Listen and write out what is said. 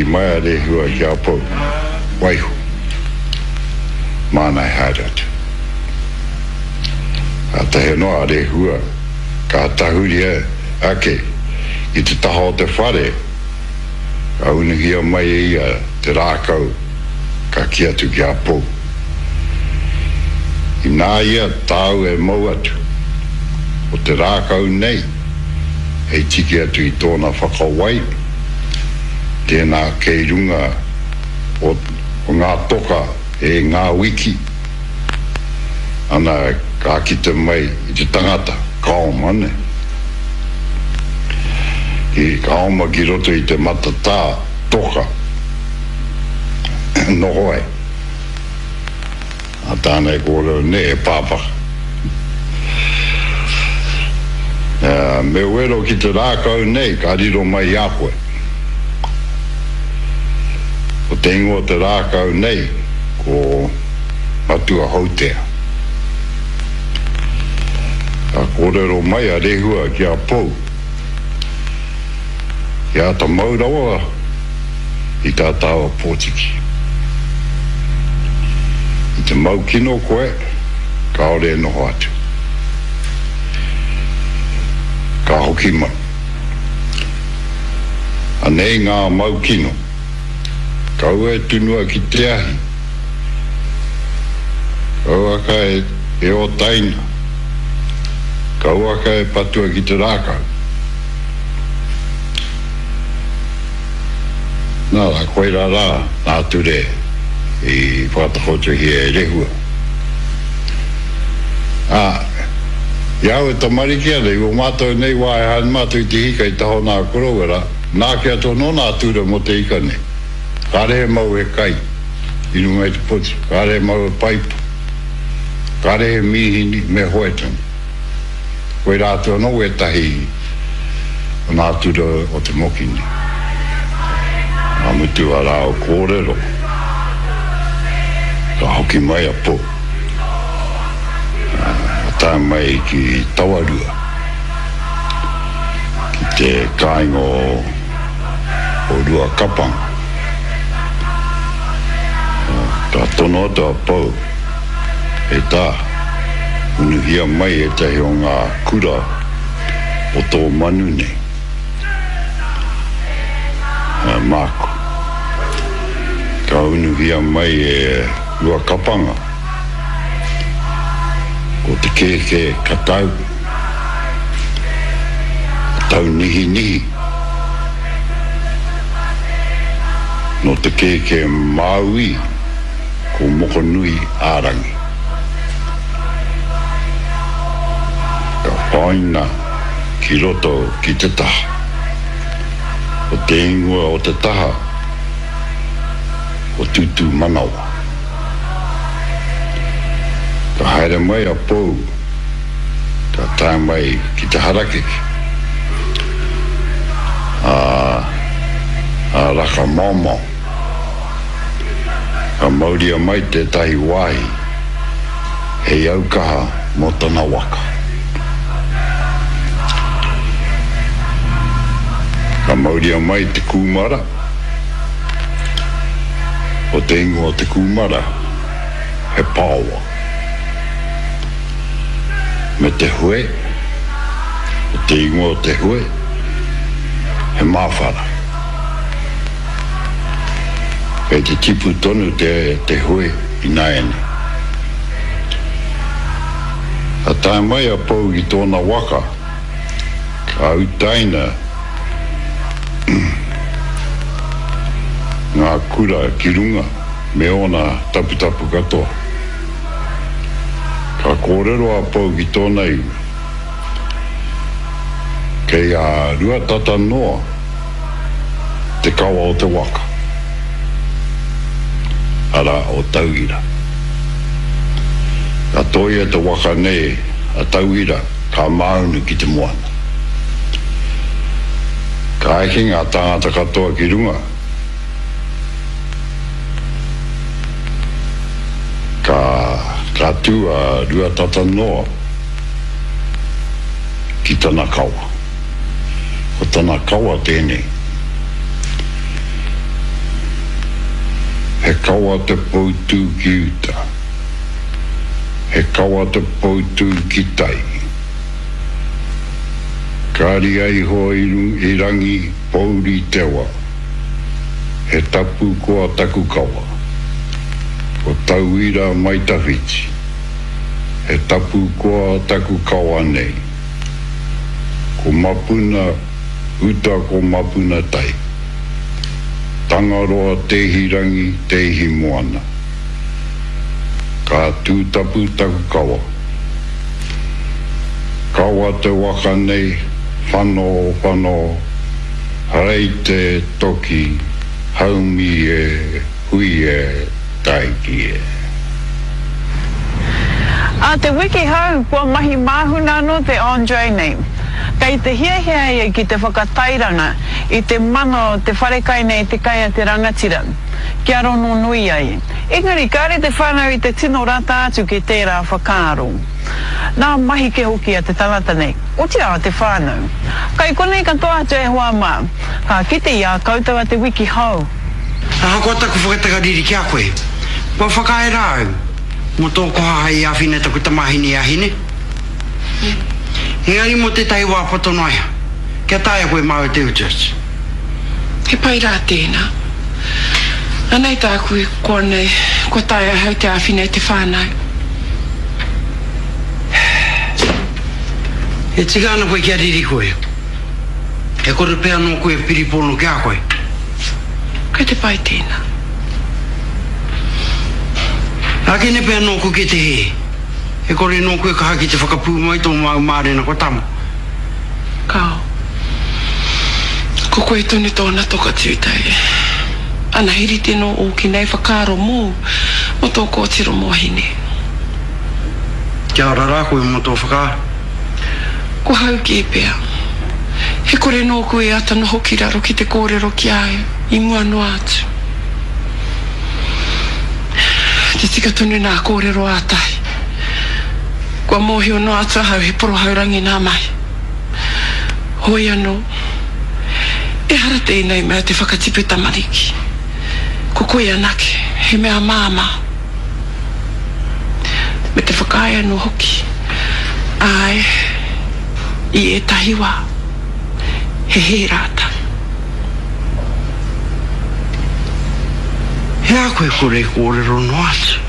mai a Rehua ki a Pou, Waiho, māna e haere atu. Kātahi anō a Rehua ka tahuri ake ki te taha o te whare, ka unuhia mai e ia te rākau ka kī atu ki a Pou, Inā ia tāu e mau atu, ko te rākau nei hei tiki atu i tōna whakawai, tēnā kei runga o ngā toka e ngā wiki, ana ka kite mai i te tangata, ka oma ne. Ki, ka oma ki roto i te matatā toka noho ai. A tāna e kōrero nei, e pāpaka. Me wero ki te rākau nei ka riro mai i a koe. Ko te ingoa o te rākau nei ko Matua Houtea. Ka kōrero mai a Rehua ki a Pou, I āta mau rawa i tā tāua pōtiki. I te mau kino koe, kāore e noho atu. Ka hoki mai. Anei ngā mau kino. Kaua e tunua ki te ahi. Kauaka e ōtaina. Kauaka e patua ki te rākau. Nā rā, koirā rā ngā ture i whakatakotohia e Rehua. Ā, i a au e tamariki ana, i ō mātou nei wā e haere mātou i te hika i taha o nā koroua rā, nā kia tono nā ture mō te ika nei. Kāre he mau he kai i runga i te poti, kāre he mau he paipa, kāre he mīhini me hoe tonu. Koirā atu anō wētahi o nā ture o te moki nei. Ka mutu a rāua kōrero, ka hoki mai a Pou. Ka tae mai ki Tawarua, ki te kāinga o Ruakapanga. Ka tono atu a Pou, E tā, unuhia mai ētahi o ngā kura o tō manu nei. Māku. Ka unuhia mai e Ruakapanga. Ko te kēkē ka tau, ka tau nihinihi. Nō te kēkē Māui, ko Mokonui ā-rangi. Ka whāina ki roto ki te taha. Ko te ingoa o te taha, ko Tūtūmanawa. Ka haere mai a Pou, ka tae mai ki te harakeke, a, a Raka-maomao. Ka mauria mai tētahi wāhi hei aukaha mō tana waka. Ka mauria mai te kūmara. Ko te ingoa o te kūmara he paowa. Me te hue, ko te ingoa o te hue he māwhara. Kei te tipu tonu te, te hue ināianei. Ka tae mai a Pou ki tōna waka, ka utaina ngā kura ki runga me ōna taputapu katoa. Ka kōrero a Pou ki tōna iwi, Kei a Ruatata noa te kawa o te waka, arā, o Tauira. Ka tōia te waka nei a Tauira ka māunu ki te moana. Ka eke ngā tāngata katoa ki runga, ka, ka tū a Ruatatanoa ki tana kawa. Ko tana kawa tēnei. He kawa te poutū ki uta. He kawa te poutū ki tai. Ka ria iho i rangi pouri te wa. He tapu koa taku kawa. Ko tauira mai tawhiti. He tapu koa taku kawa nei. Ko mapuna uta ko mapuna tai. Tangaroa tēhi rangi, tēhi moana. Ka tūtapu taku kawa. Kawa te waka nei, whano, whano, rei te toki, haumi e, hui e, taiki e. Ā te wiki hou, kua mahi māhuna anō te Andre nei. Kei te hiahia ia ki te whakatairanga i te mana o te wharekai nei Te Kai a te Rangatira, kia rononui ai. Engari kāre te whānau i te tino rata atu ki tērā whakaaro. Nā mahi kē hoki a te tangata nei, otirā a te whānau. Kai konei katoa atu e hoa mā, ka kite i a koutou a te wiki hou. Ahakoa taku whakatakariri ki a koe, kua whakaae rā au mō tō koha hei āwhina i taku tamāhine i a Hine. Engari mō tētahi wā poto noa iho, kia taea koe māu te utu atu. He pai rā tēnā. Anei tāku e koa nei, kua taea ahau te āwhina i te whānau. E tika ana koe kia riri koe. E kore pea nōku e piripono ki a koe. Kei te pai tēnā. Ākene pea nōku ki te hē. E kore nōku e kaha ki te whakapūmau i tō māu mārena kua tama. Kāo. Ko koe tonu tōna toka tūtei. Ana he rite nō ōki nei whakaaro mōu, mō tō kōtiro mō Hine. Kia ora rā koe mō tō whakaaro. Ko hau kē pea. He kore nōku e ata noho ki raro ki te kōrero ki a au i mua noa atu. Te tika tonu nā kōrero a Tahi. Kua mōhio noa atu ahau he porohaurangi nā mahi. Hoi anō, ehara tēnei mea te whakatipu tamariki. Ko koe anake, he mea māmā. Me te whakaae anō hoki, āe, i ētahi wā, he hē rātou. He aha koe kore kōrero noa atu?